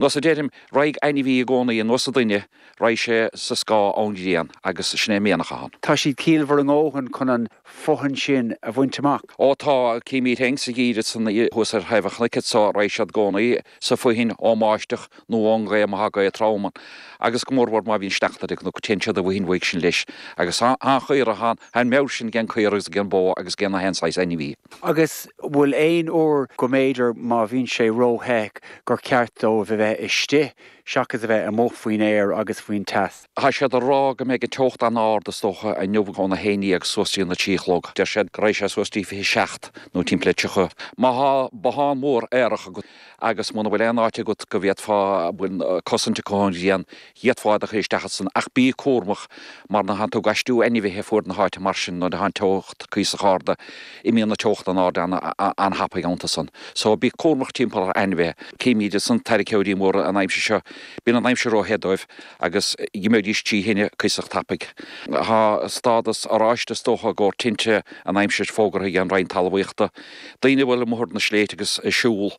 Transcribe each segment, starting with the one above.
Nós a deirim, raghaidh ainmhí i gcónaí ar nós an duine, raghaidh sé sa scáth ón ghrian agus sin é an mianach atá ann. Tá siad ciallmhar a ndóthain chun an fothain sin a bhaint amach. Ó tá, címid féin sa gheimhreadh san thuas ar thaobh an chnoic anso, raghaidh siad i gcónaí sa bhfothain ón mbáisteach nó ón ngaoth má thá gaoth trom ann agus go mórmhór má bhíonn sneachta ar an gcnoc, téann siad i bhfothain uaidh sin leis agus tá an chaora, tá an meabhair sin ag an caora agus ag an bó agus ag na haon saghas ainmhí. Agus bhfuil aon uair go mb'fhéidir má bhíonn sé ró-the gur ceart dóibh a bheith istigh seachas a bheith amuigh faoin aer agus faoin teas? Tá siad ag rá go mbeidh an teocht an-ard is dócha inniu óna 11 suas dtí na 3 a chlog. Deir siad go raghaidh sé suas dtí 27 nó timpeall le 30. Má thá bothán mór aerach agat agus muna bhfuil aon áit agat go bhféadfá bhfuil cosaint acu ón ghrian, d'fhéadfá iad a chur isteach ansan ach bí cúramach mar nuair atánn tú ag aistriú ainmhithe fuar na háite mar sin nuair atá an teocht cuíosach ard imíonn an teocht in airde an-thapaidh iontu san. So bí cúramach timpeall ar ainmhithe. Címid ansan tarraiceoirí móra an aimsir seo, bíonn an aimsir ró-the dóibh agus dh'imeoidís trí thine cuíosach tapaidh. Tá stádas oráiste is dócha i gcomhair tinte an aimsir fógartha ag an Roinn Talmhaíochta. Daoine a bhfuil amuigh ar na sléibhte agus ag siúl,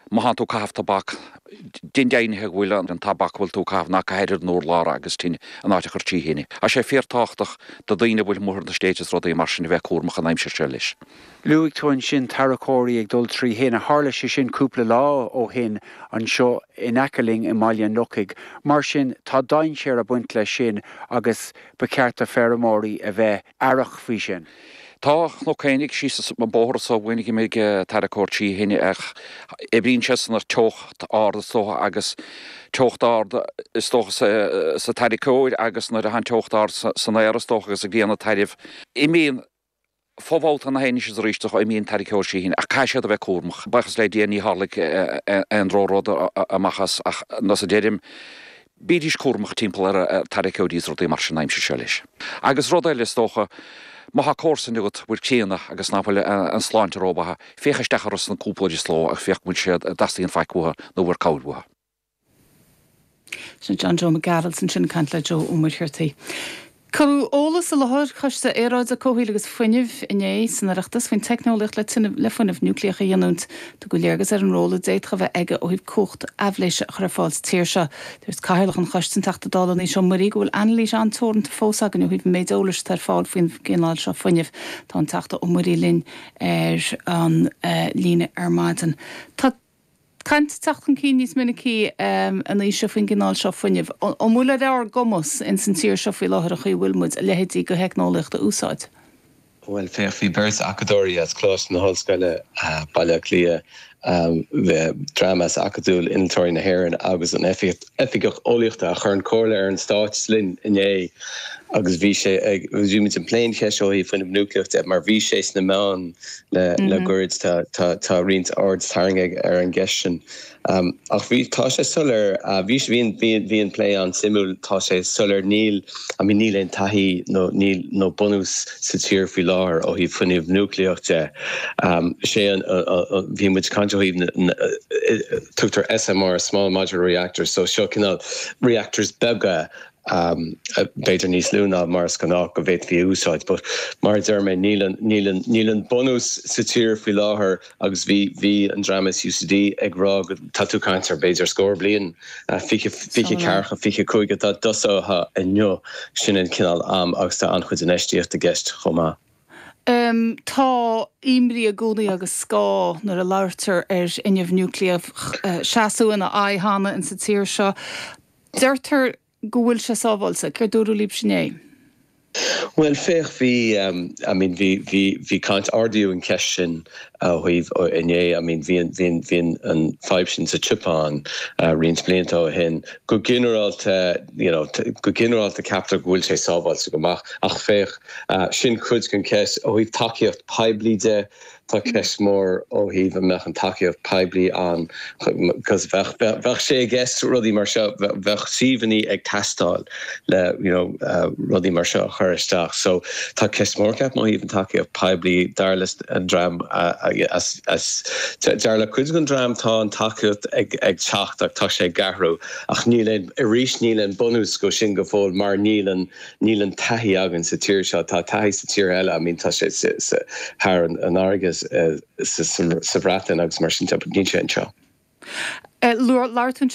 má thánn tú ag caitheamh tobac, déan deimhnithe go bhfuil an tobac a bhfuil tú ag caitheamh, ná caith ar an urlár agus tine, an áit a chur trí thine. Tá sé fíortábhachtach do daoine a bhfuil amuigh ar na sléibhte is rudaí mar sin a bheith cúramach an aimsir seo leis. Luaigh tú ansin tarracóirí ag dul trí thine. Tharla sé sin cúpla lá ó shin anseo in aice linn i mBaile an Lochaigh. Mar sin, tá dainséar ag baint leis sin agus ba cheart do feirmeoirí a bheith aireach faoi sin. Tá a chnoc fhéinig síos an bóthar so uainn d'imigh tarracóir trí thine ach oibríonn sé san ar teocht ard is dócha agus teocht ard is dócha sa tarracóir agus nuair atá an teocht ard san aer is dócha agus an ghrian ag tairbh imíonn fo-bhabhta na haon is arís imíonn tarracóir trí thine ach caithfidh siad a bheith cúramach. Buíochas le Dia ní tharlaigh aon drochrud amach as ach nós a deirim Bídís cúramach timpeall ar tarraiceoirí is rudaí mar sin an aimsir seo leis. Agus rud eile is dócha, má thá comharsain agat bhfuil críonna agus nach bhfuil an sláinte rómhaith, féach isteach orthu san cúpla uair sa ló agus féach go bhfuil siad, an dteastaíonn faic uathu nó bhfuil cabhair uathu. Sin John Joe Mac Gearailt ansin ag caint le Joe Ó Muircheartaigh. Cuireadh eolas i láthair Choiste Aeráide, Comhshaoil agus Fuinnimh inné san Oireachtas faoin teicneolaíocht le tine le fuinneamh núicléach a ghiniúint. Tugadh léargas ar an ról a d'fhéadfadh a bheith aige ó thaobh cumhacht aibhléise a chur ar fáil sa tír seo. Dúirt Cathaoirleach an Choiste, an Teachta Dála Naoise Ó Muirí, go bhfuil anailís an-teoranta fós againn ó thaobh an méid eolais atá ar fáil faoin gcineál seo fuinnimh. Tá an Teachta Ó Muirí linn ar an líne ar maidin. Tá. Caint ag teacht chun cinn níos minicí a Naoise faoin gcineál seo fuinnimh. An bhfuil ar ár gcumas ins an tír seo faoi láthair an chaoi a bhfuil muid, a leithéidí de theicneolaíocht a úsáid? Bhuel, féach, bhí beirt acadóirí as Coláiste na hOllscoile, Baile Átha Cliath, dream as Acadamh Innealtóirí na hÉireann agus an Oifigeach Eolaíochta a chuireann comhairle ar an Stát linn inné agus bhí sé ag, bhí muid ag plé an cheist ó thaobh fuinneamh núicléach de mar bhí sé sna meáin le le goirid tá tá tá roinnt aird tarraingthe ar an gceist sin. Ach bhí tá sé soiléir bhí bhí bhí bhí an plé an-suimiúil tá sé soiléir níl I mean níl aon taithí nó níl nó bunús sa tír faoi láthair ó thaobh fuinneamh núicléach de. Sé an bhí muid ag caint ó thaobh na tugtar SMR Small Modular Reactors so seo cineál reactors beaga b'fhéidir níos lú ná mar is gnách go bhféadfaí a úsáid. But mar a deir mé, níl an, níl an, níl an bunús sa tír faoi láthair agus bhí, bhí an dream as UCD ag rá go, tá tú ag caint ar b'fhéidir scór bliain, 20, 24, 25 dá dtosófá inniu, sin an cineál am agus tá an-chuid infheistíocht i gceist chomh maith. Tá imní i gcónaí agus scáth nuair a labhartar ar fhuinneamh núicléach, seasadh ina aghaidh cheana insa tír seo. Deirtear go bhfuil sé sábháilte. Céard dúradh libhse inné? Bhuel, féach, bhí, I mean, bhí, bhí, bhí caint, ardaíodh an cheist sin ó thaobh inné, I mean, bhí an, bhí an, bhí an, an fadhb sin sa tSeapáin roinnt blianta ó shin. Go ginearálta, you know, go ginearálta ceaptar go bhfuil sé sábháilte go maith ach féach, sin cuid den cheist ó thaobh tacaíocht poiblí de, Tá ceist mhór ó thaobh an mbeadh an tacaíocht poiblí ann because bheadh bheadh sé i gceist rudaí mar seo, bheadh suíomhanna ag teastáil le you know rudaí mar seo a chur isteach. So tá ceist mhór ceapaim ó thaobh an tacaíocht poiblí dar leis an dream as as dar le cuid den dream tá an tacaíocht ag ag teacht ach tá sé ag athrú ach níl aon arís níl aon bunús go sin go fóill mar níl an Níl an taithí againn sa tír seo. Tá taithí sa tír eile, I mean tá sé thar an fharraige sa Bhreatain agus mar sin de, but níl sé anseo. Labhair tú.